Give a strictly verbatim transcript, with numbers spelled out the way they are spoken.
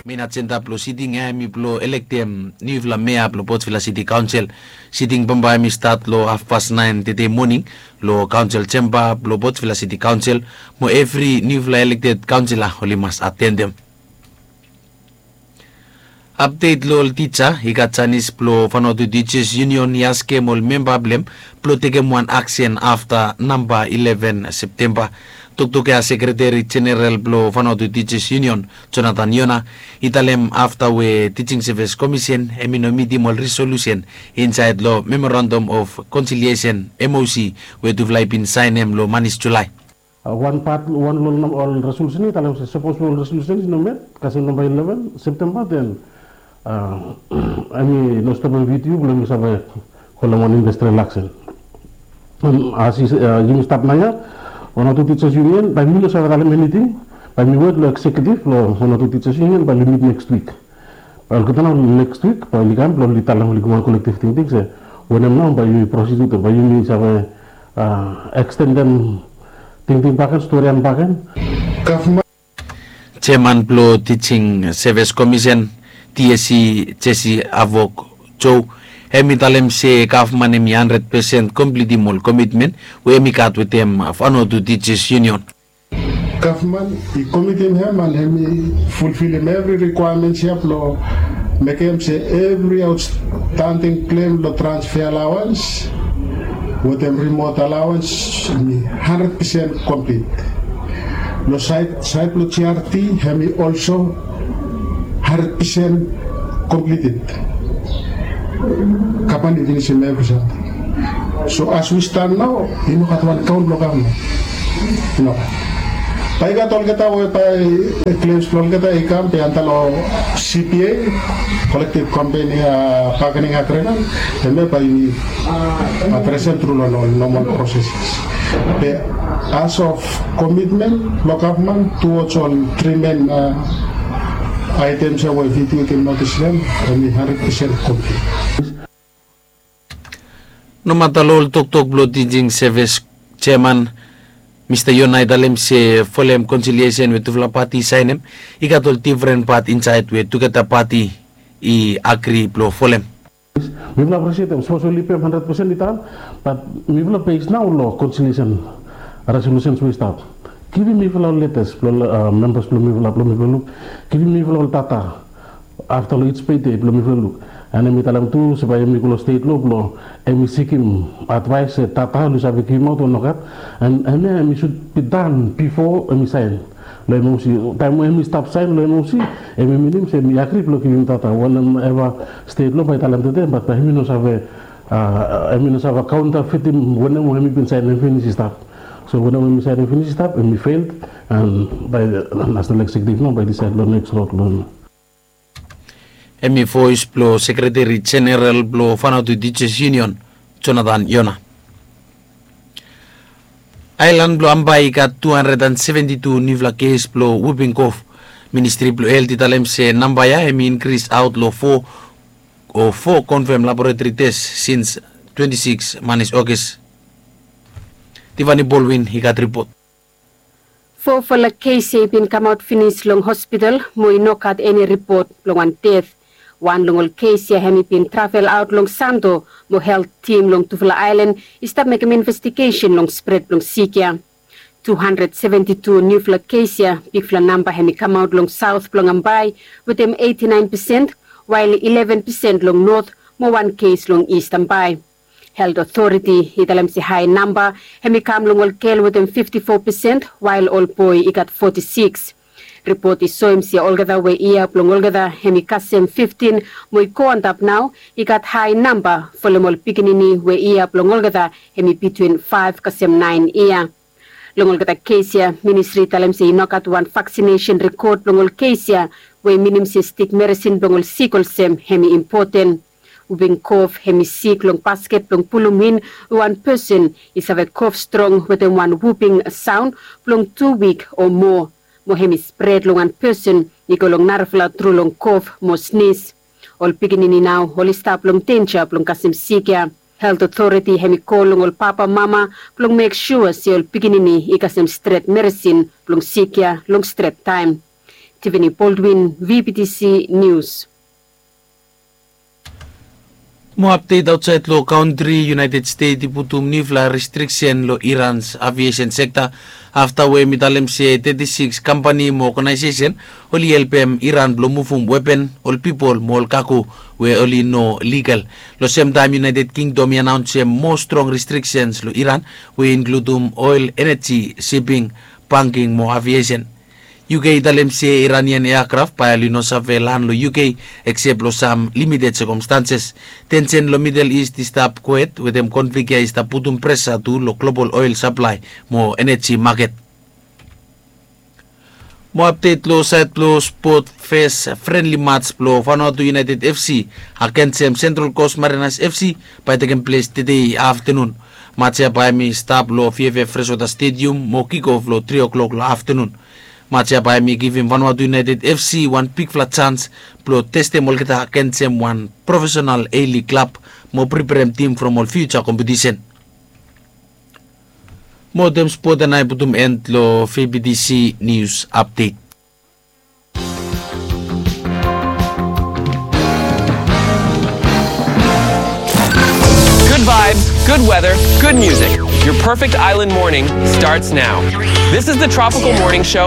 Main ajenda blong siting ya hemi blong elektem niufala mea blong Port Vila City Council. Siting bambae hemi stat long hafpas naen tede moning long Council Chamber blong Port Vila City Council, mo evri niufala elekted kaunsila oli mas atendem. Apdet long ol tija. I gat janis blong Vanuatu Teachers Union i askem ol memba blong hem blong tekem wan aksen afta namba ileven Septemba. Toktok ya Sekreteri Jeneral blong Vanuatu Teachers Union, Jonathan Yona, i talem afta we Teaching Service Commission hemi no mitim ol resolusen insaed long Memorandum of Conciliation, M O C, we tufala i bin saenem long manis Julae. Wan pat, wan long ol resolusen ya i talem se sapos ol resolusen i no met kasem namba ileven Septemba, den hemi no stopem V T U blong hemi save holem wan industrial aksen. As yumi stap naoia, Vanuatu Teachers Union, bae mi no save talem eniting, bae mi wet long executive blong Vanuatu Teachers Union, bae oli mit next week. Bae olgeta nao next week bae oli kam blong oli talem, oli givim wan kolektiv tingting se wanem nao bae yumi prosid wetem, bae yumi save ekstendem tingting bakegen, storian bakegen. Gavman Jeman blong Teaching Service Commission, T S C, Jesse Avok Joe, hemi talem se gavman hemi handred pesen komplitim ol komitmen we hemi gat wetem Vanuatu Teachers Union. Gavman i komitim hem and hemi fulfilim evri rikwaemens ya blong mekem se evri aotstanding klem long transfer alawans wetem rimot alawans hemi handred pesen komplit. Long saed blong G R T hemi olso handred pesen komplited. Gavman i finisim evri samting. So as we stand nao, i no gat wan kaon blong gavman. I no gat. Bae i gat olgeta we bae klems blong olgeta i kam bae antap long C P A, Collective Company Bargaining Agreement, hemia bae yumi adresem tru long ol normal processes. Be as of commitment blong gavman towards ol tri main items ya we V T U i givim notis long hem, hemi handred pesen komplid. Nomata long ol toktok blong Teaching Service Jeman, Mista Yona i talem se folem konsiliesen we tufala pati i saenem, i gat ol difren pat insaed we tugeta pati i agri blong folem. Mifala aprisietem sapos oli pem handred pesen i tan, bat mifala bes nao long konsiliesen resolusens we i stap. Givim mifala ol letas blong membas blong mifala, blong mifala luk. Givim mifala ol data afta long ij pede blong mifala luk. And hemi talem tu se bae hemi go long stet lo blong hemi sikim advaes se data oli save givimaot o nogat. And hemia hemi sud bi dan bifo hemi saen long M O C. Taem we hemi stap saen long M O C, hemi minim se hemi agri blong givim data wanem eva stet lo bae i talem tede, bat bae hemi no save, hemi no save kaontafitim wanem we hemi bin saenem finis i stap. So wanem we hemi saenem finis i stap, hemi fel, and bae nasenal eksekiutiv nao bae i disaed long neks rod lo hem. Hemi voes blong Sekreteri Jeneral blong Vanuatu Teachers Union, Jonathan Yona. Aelan blong Ambae i gat tu handred and seventi tu niufala kes blong wuping kof. Ministri blong Helt i talem se namba ya hemi inkris aot long fo, o fo konfam laboratori tes sins twenti sikis manis Aogas. Tivani Bolwin i gat ripot. Fofala kes ya i bin kamaot finis long hospital mo i no gat eni ripot blong wan det. Wan long ol kes ya hemi bin travel aot long Santo mo helt tim long tufala aelan i stap mekem investigesen long spred blong sik ya. Tu handred seventi tu niufala kes ya, bigfala namba hemi kamaot long saot blong Ambae wetem eiti naen pesen, wael ileven pesen long not mo wan kes long Ist Ambae. Helt Otoriti i talem se hae namba hemi kam long ol gel wetem fifti fo pesen, wael ol boe i gat foti sikis. Ripot i soem se olgeta we yia blong olgeta hemi kasem fiftin mo i go antap nao, i gat hae namba folem ol pikinini we yia blong olgeta hemi bitwin faef kasem naen yia. Long olgeta kes ya, ministri i talem se i no gat wan vaksinesen rekod blong ol kes ya, we minim se stik meresin blong ol sik olsem hemi impoten. Wuping kof hemi sik long basket blong pulum in we wan pesen i save kof strong wetem wan wuping saon blong tu wik o moa, mo hemi spred long wan pesen i go long narafala tru long kof mo snis. Ol pikinini nao oli stap long denja blong kasem sik ya. Helt Otoriti hemi kol long ol papamama blong mek sua se ol pikinini i kasem stret meresin blong sik ya long stret taem. Tiffany Baldwin, V B T C News. Mo apdet aotsaed long kantri, United States i putum niufala restriksen long Iran's aviation sekta afta we hem i talem se teti sikis kampani mo oganaesesen oli helpem Iran blong muvum wepen, ol pipol mo ol kago we oli no ligal. Long semtaem United Kingdom i anaonsem moa strong restriksens long Iran we i inkludum oel, eneji, siping, banking mo aviesen. U K i talem se Iranian eakraf bae oli no save lan long U K eksep long sam limited sekomstanses. Tensen long Middle East i stap kwet wetem konflik ya i stap putum presa tu long global oel saplae mo eneji maket. Mo apdet long saed blong spot, fes frenli mats blong Vanuatu United F C agensem Central Coast Mariners F C bae tekem ples tede aftenun. Mats ya bae hem i stap long V F F Freshwater Stadium mo kikof long tri o'clock long aftenun. Mats ya bae hem i givim Vanuatu United F C wan bigfala jans blong testem olgeta agensem wan profesenal A-League klab mo preperem tim from ol fiuja kompetisen. Mo wetem spot ya nao i putum en long V B T C News Update. Good vibes, good weather, good music. Your perfect island morning starts now. This is the Tropical Morning Show